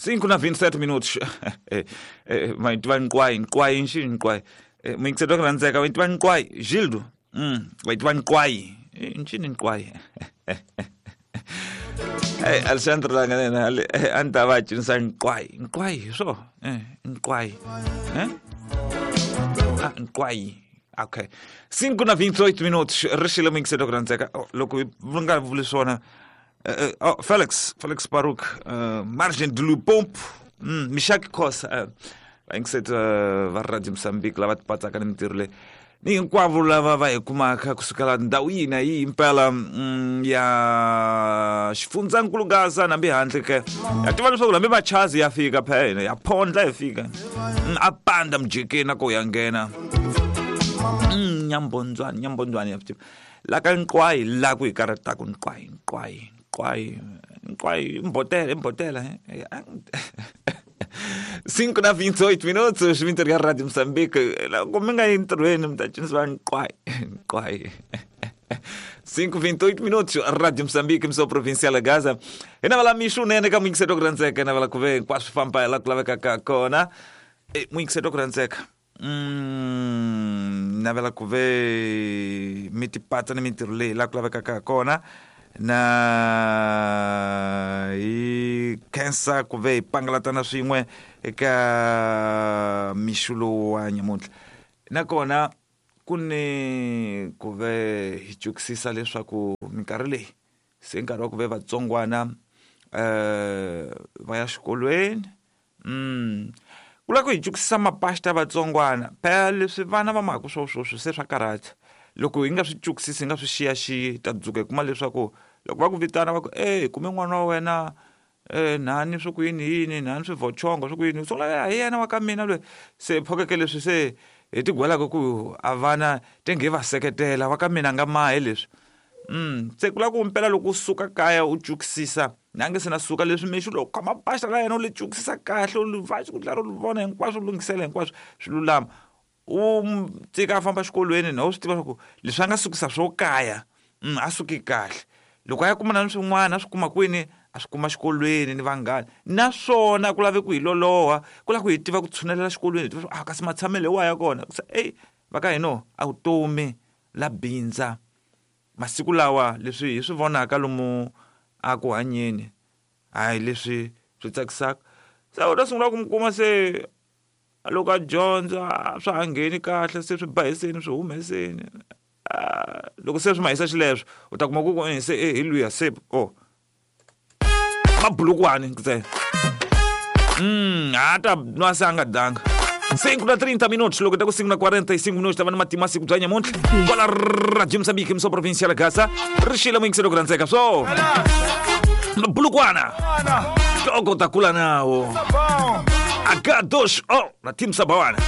5 na 27 minutos. Ma tiva nqwayi, nqwayi nxini nqwayi. Muyingiseri wa ku rhandzeka, wa tiva nqwayi, Gildo. Wa tiva nqwayi. Nxini nqwayi. Hey, Alexandre la nga na a ni ta va cinisa nqwayi. Nqwayi hi swo. Nqwayi. Eh? Ah, nqwayi. Okay. 5 na 28 minutos. Ri xile muyingiseri wa ku rhandzeka. Oh, loko hi nga vuli swona oh, Felix, Felix Baruk, Margem de Lupompo, Mishak Khosa, vayingiseti va Radio Mozambique lava tipatsaka ni mintirho leyi ni hinkwavo lava va hi kumaka kusukela ndhawu yihi na yihi impela ya xifundzankulu Gaza nambi handle ke ya tiva leswaku hambi machazi ya fika phela ya phondla hi fika a panda mujekeni a ko ya nghena nyambondzwani nyambondzwani ya tiva la ka nqwayi la ku hi karhataka nqwayi nqwayi nqwayi nqwayi mbotela mbotela 5 na 28 minutos mintirho ya Radio Moçambique loko mi nga yi ntirhweni mi ta cinisiwa nqwayi nqwayi 5:28 minutos Radio Moçambique mso provincial Gaza hi navala mixo unene ka muyingiseri wa ku rhandzeka hi navala ku ve hinkwaswo famba hi la ku lavekaka kona muyingiseri wa ku rhandzeka navela ku ve mi tipatsa ni mintirho leyi la ku lavekaka kona na hi khensa ku ve hi pangalatana swin'we eka mixo lowu wa nyamuntlha nakona ku ni ku ve hi cukisisa leswaku minkarhi leyi se nkarhi wa ku ve vatsongwana va ya xikolweni ku lava ku hi cukisisa mapasta vatsongwana phela leswi vana va mhaka swo sweswi se swa karhata loko hi nga swi cukisisi hi nga swi xiyaxiyi ta dzuka hi kuma leswaku loko va ku vitana va ku e hi kume n'wana wa wena nhani swa ku yini yini nhani swivhochongo swa ku yini u sungula hi yena wa ka mina loyi se phokeke leswi se hi tigwelaka ku a vana tenge hi va seketela wa ka mina nga mahe leswi se ku lava ku mpela loko u suka kaya u cukisisa na nge se na suka leswi mixo loko khoma basa ra yena u li cukisisa kahle u li va ku tlhela u li vona hinkwaswo u lunghisela hinkwaswo swi lulama u tshika a famba exikolweni na u swi tiva swa ku leswi a nga sukisa swo kaya a suki kahle loko a ya kumana ni swin'wana a swi kuma kwini a swi kuma xikolweni ni vanghana naswona ku lave ku hi loloha ku lava ku hi tiva ku tshunelela xikolweni hi tiva a kasi matshamelo hi wa ya kona se eyi va ka hina a vutomi la bindza masiku lawa leswi hi swi vonaka lomu a ku hanyeni hayi leswi swi tsakisaka se u ta sungula ku mi kuma se loko a dyondza swa ha ngheni kahle se swi bahiseni swi humeseni loko se swi mahisa xileswo u ta kuma ku ku se hi luya se o mabulukwani ntsena ha ta nwa se a nga danga 5 na 30 minutos loko ta ku 5 na 45 minutos ta va ni matimu masiku bya nyamuntlha kwala Radio Mozambique mso provincial Gaza ri xile muyingiselo ku rhandzeka swo mabulukwana toko ta kula nawo H2O na team Sabawana.